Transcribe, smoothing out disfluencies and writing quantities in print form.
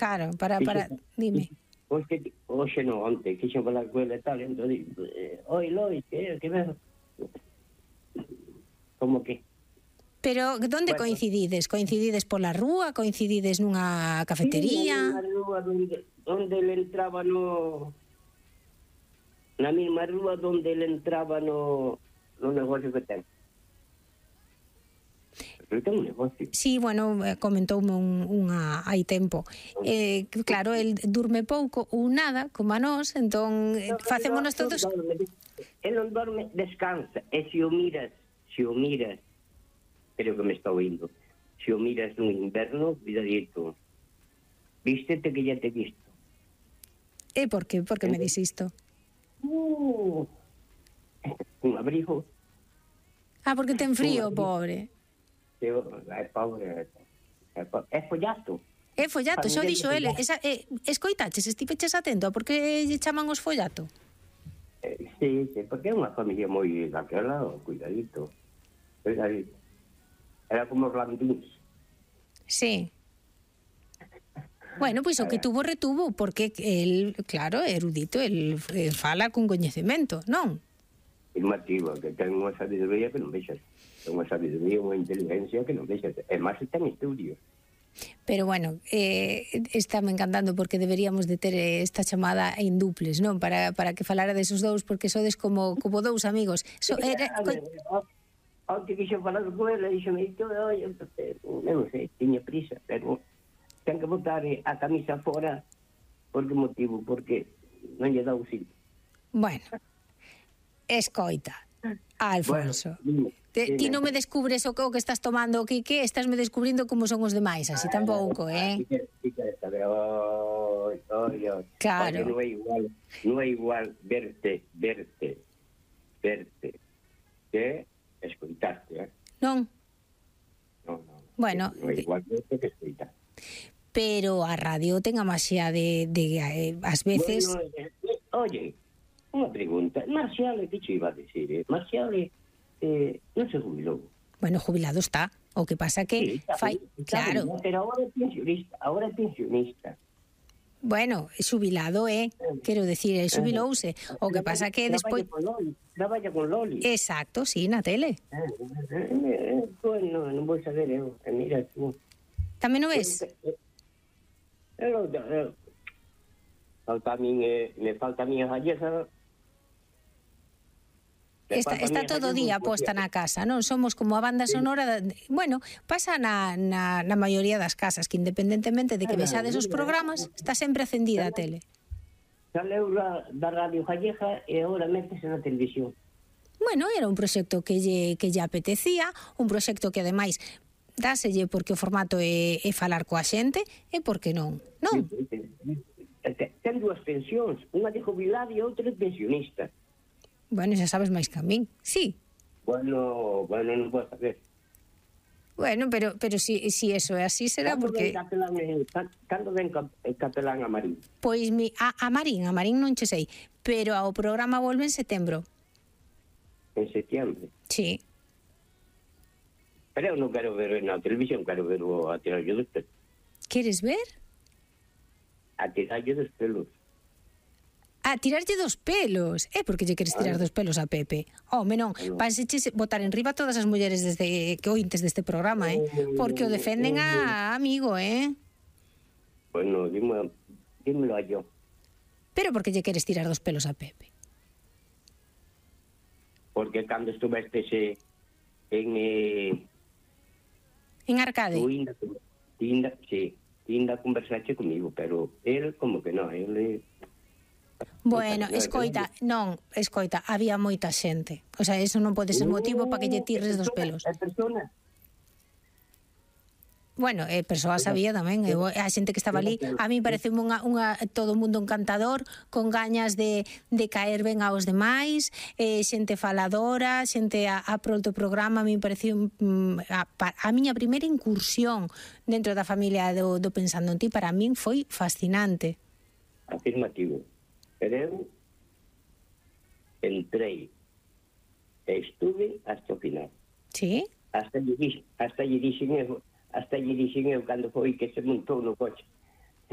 Claro, para dime. Hoxe non, onte, quixen falar con ele e tal, entón digo, oi, Lois, que ves? Como que? Pero onde coincidides? Coincidides pola rúa? Coincidides nunha cafetería? Sí, na rúa onde ele entraba na mesma rúa onde ele entraba no negocio que ten. Ele ten un negocio. Sí, bueno, comentoume hai tempo. Claro, el durme pouco ou nada, como a nós, entón facémonos todos... Ele non dorme, descansa. E se o miras, creo que me está oindo, se o miras no inverno, cuidadito, vístete que ya te he visto. E por que? Por que me dis isto? Un abrigo. Porque ten frío, pobre. É pobre. É follato. É follato, xa o dixo ele. Escoitaches, estiveches atento a por que lle chaman os follato? Sí, porque é unha familia moi daquela, cuidadito. Era como os landíns. Sí. Bueno, pois o que tuvo retuvo, porque el, claro, erudito, el fala con coñecemento, non? Afirmativo, que ten unha sabiduría que non vexas. Ten unha sabiduría, unha inteligencia que non vexas. E máis ten estudios. Pero bueno, estáme encantando porque deberíamos de ter esta chamada en duples, non? Para que falara desos dous, porque sodes como dous amigos. Onte quixo falar con ele, dixome, non sei, tiña prisa, pero ten que botar a camisa fora. Por que motivo? Porque non lle dá o sitio. Bueno, escoita, Alfonso. Ti non me descubres o que estás tomando o que estás me descubrindo como son os demais, así tampouco, Claro. Non é igual verte que escoitarte, Non? Non. Bueno, non é igual verte que escoitarte. Pero a radio ten a maxia de ás veces... Bueno, oye, unha pregunta. Marcial, que che iba a decir? Marcial non se jubilou. Bueno, jubilado está. O que pasa que fai... Claro. Pero agora é pensionista. Bueno, xubilado quero decir, xubilouse. O que pasa que despois... Traballa con Loli. Exacto, sí, na tele. Bueno, non vou saber eu. Mira tú. Tamén o ves? Me falta a miña gallega. Está todo o día posta na casa, non? Somos como a banda sonora, bueno, pasa na maioría das casas, que independentemente de que vexades os programas, está sempre acendida a tele. Saleu da radio gallega e agora métese na televisión. Bueno, era un proxecto que lle apetecía, un proxecto que ademais dáselle porque o formato é falar coa xente, e por que non? Non? Ten dúas pensións, unha de jubilado e outra de pensionista. Bueno, xa sabes máis que a min, sí. Bueno, non podo saber. Bueno, pero si eso é así será porque... Cando ven capelán a Marín? Pois a Marín non che sei, pero ao programa volve en setembro. En setembro? Sí. Pero eu non quero ver na televisión, quero ver a tirallo dos pelos. Queres ver? A tirallo dos pelos. A tirarlle dos pelos. Por que lle queres tirar dos pelos a Pepe? Home, non, vanseche botar en riba todas as mulleres que ointes deste programa, porque o defenden a amigo, Bueno, dímelo a yo. Pero por que lle queres tirar dos pelos a Pepe? Porque cando estuvestes en Arcade? Tinda conversache comigo, pero él como que non, él... Bueno, escoita, había moita xente. O sea, eso non pode ser motivo para que lle tires dos pelos. Bueno, persoa sabía tamén, a xente que estaba ali, a mí parece todo o mundo encantador, con gañas de caer ben aos demais, xente faladora, xente a prol do programa. A mí pareceu a miña primeira incursión dentro da familia do Pensando en Ti, para min foi fascinante. Afirmativo. Pero eu entrei e estuve hasta o final. Sí? Hasta lle dixen eu cando foi que se montou no coche.